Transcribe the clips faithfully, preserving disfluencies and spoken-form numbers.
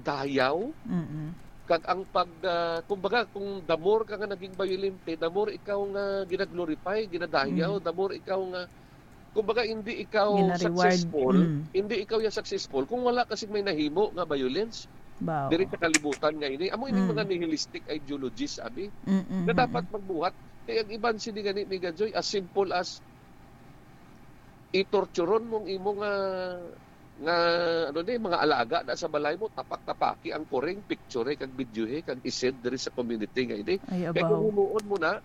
pagdayaw, Mm-mm. kag ang pag, ah, kumbaga, kung the more ka nga naging bayolente, the more ikaw nga ginaglorify, ginadayaw, Mm. the more ikaw nga, kumbaga, hindi ikaw Gina-reward. successful, Mm. hindi ikaw ya successful kung wala ka sing may nahimo nga violence Baw. diri sa kalibutan nga ini. Amo ining Mm. mga nihilistic ideologies, abi, Mm-mm, na mm-mm. dapat magbuhat. Kay ang iban sini gani, Miga Joy, as simple as i-torturon mo ang imo nga, nga, ano ni, mga alaga na sa balay mo, tapak-tapaki ang kuring, picture kag videohi kag i-send diri sa community nga ini. Ay, Kay kung abaw. himuon mo na,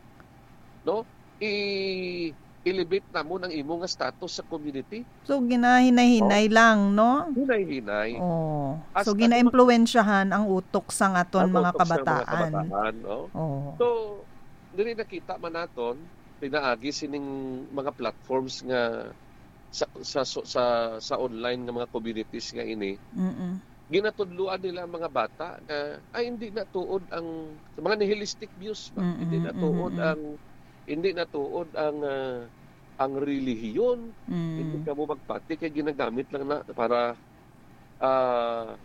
no, i-, elevate na mo ang imo nga status sa community. So, ginahinay-hinay Oh. lang, no? Hinay-hinay. Oh. As So, ano gina-impluwensyahan ang utok sang aton Ang mga utok sa mga kabataan. kabataan, no? Oh. So, diri nakita man naton, pinaagi sining mga platforms nga sa, sa, sa, sa, sa online nga mga communities nga ini, Mm-mm. ginatudloan nila ang mga bata nga, ay, hindi na tuod ang, mga nihilistic views ba? Mm-mm, Hindi na tuod mm-mm. ang, hindi na tuod ang, ah, ang relihiyon. Mm. Hindi ka mo magpati kay ginagamit lang na para, ah,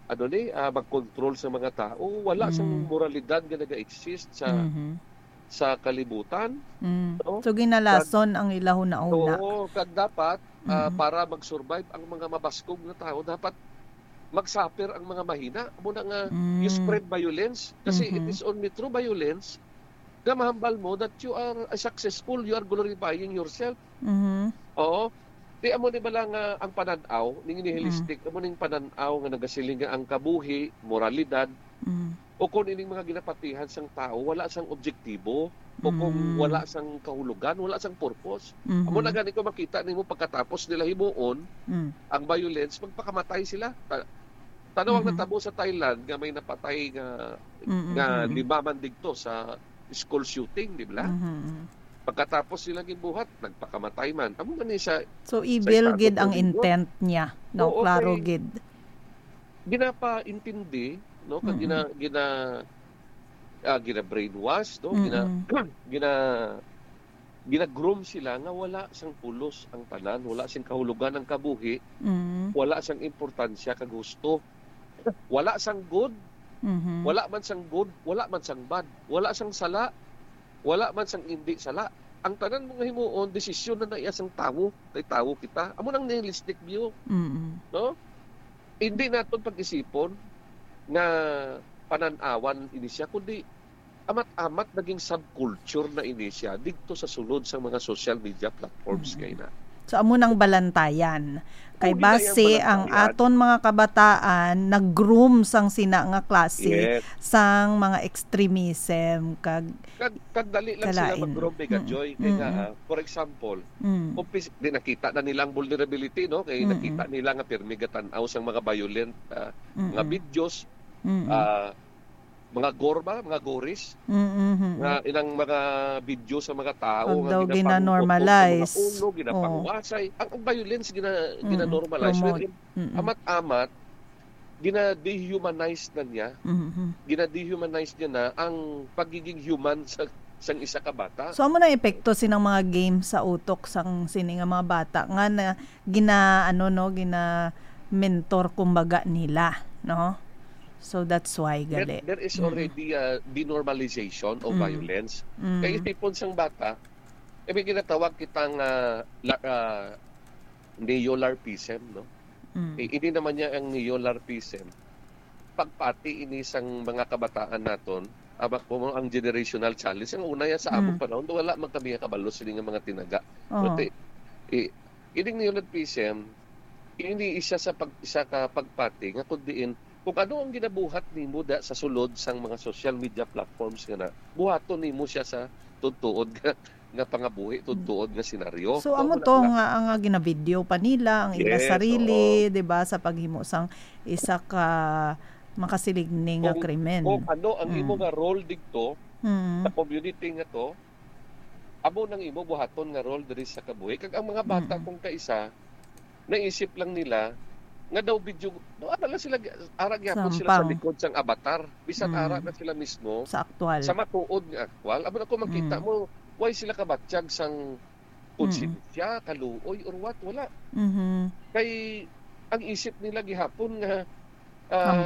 ano ni, ah, mag-control sa mga tao. Wala sang Mm. moralidad nga naga-exist sa, Mhm. sa kalibutan, Mm. no? So, ginalason ang ila huna-huna. Oo, kag dapat, ah, Mm. para mag-survive ang mga mabaskog nga tao, dapat mag-suffer ang mga mahina. Amo na nga, you Mm. spread violence. Kasi it Mhm. is only through violence nga mahambal mo that you are, ah, successful, you are glorifying yourself. Mhm. Oo. Di amo ni bala nga ang panan-aw, ning nihilistic, Mm. amo ning panan-aw nga nagasiling nga ang kabuhi, moralidad, Mm. o kung ining mga ginapatihan sang tawo, wala sang objektibo, o kung Mm. wala sang kahulugan, wala sang purpose. Mhm. Amo na gani ko makita nimo pagkatapos nila himuon Mm. ang violence, magpakamatay sila. Ta-, tanaw ang Mhm. natabo sa Thailand nga may napatay nga, Mm, nga mm, mm. lima man digto sa school shooting, di ba? Mhm, mm. Pagkatapos nila ginbuhat, nagpakamatay man. Amo man ni sa, So, sa evil Estados gid ang Unidos. intent niya, no? Oo, Klaro kay gid. ginapaintindi, no? Kag Mm. gina-, gina-, ah, gina-brainwash, no? Gina-, Mm-mm. gina-, gina-groom sila nga wala sang pulos ang tanan, wala sing kahulugan ang kabuhi, Mm. wala sang importansya kag husto. Wala sang good, Mhm. wala man sang good, wala man sang bad, wala sang sala, wala man sang indi sala. Ang tanan mo nga himuon, desisyon na na iya sang tawo, kay tawo kita. Amo nang nihilistic view, Mm. no? Hindi naton pag-isipon nga panan-awan ini siya, kundi amat-amat naging subculture na ini siya didto sa sulod sang mga social media platforms Mm. kay na. So, amo nang balantayan. Kay Oh, di na yang base ang balantayan. aton mga kabataan nag-groom sang sina nga klase Yes. sang mga extremism kag Kag, kag dali lang sila kalain. mag-groom, Mega Mm. Joy. Kay nga, Mm-mm. ah, for example, Mm. kung pis-, di nakita na nila ang vulnerability, no? Kay Mm-mm. nakita nila nga pirmi gatan-aw sang mga violent, ah, mga Mm-mm. videos, Mm-mm. ah, mga gore ba? Mga gories? Mm-hmm. Nga ilang mga video sa mga tao Pag nga daw ginapangugot-ot sa mga gina-normalize. ulo, Oo. ginapanguwasay. Ang, ang violence gina-, Mm-mm. gina-normalize. Promote. Wherein, Mm-mm. amat-amat, gina-dehumanize na niya. Mm-hmm. Gina-dehumanize niya na ang pagiging human sa, sang isa ka bata. So, amo na epekto sinang mga game sa utok sang sini nga mga bata nga na gina, ano, no, gina-mentor, kumbaga, nila, no? So, that's why There, gali. there is Mm. already a denormalization of Mm. violence. Mm. Kay isipon sang bata, eh, may ginatawag kita nga la-, ah, neo-larpism, no? Mm. Eh, ini naman niya ang neo-larpism. Pagpati ini sang mga kabataan naton, aba ko mo ang generational challenge. Ang una yan sa among Mm. panahon, wala man kami kabalo sini nga mga tinaga. Oo. Pero ti-, i-, ining neo-larpism, ini isa sa pag-, isa ka pagpati nga kun diin, kung ano ang ginabuhat nimo da sa sulod sang mga social media platforms nga na, buhaton nimo siya sa tuod-tuod nga, nga pangabuhi, tuod-tuod nga senaryo. So, Amo amo na to lang. nga, ang, ah, ginavideo pa nila, ang ila Yes, sarili, oo. di ba, sa paghimo sang isa ka makasiligning nga Kung, krimen. kung ano ang imo Mm. nga role didto, Mm. sa community nga to, amo nang imo buhaton nga role diri sa kabuhi. Kag ang mga bata Mm-mm. kung kaisa, naisip lang nila nga daw video, no, ara lang sila, ara gyapon sila sa Sampang. likod sang avatar. Bisan Mm. ara na sila mismo Sa aktual. sa matuod nga aktual. Amo na kung makita Mm. mo, why sila kabatyag sang Mm. konsensya, kaluoy, or what? Wala. Mhm. Kay ang isip nila gihapon nga, ah, Hampang.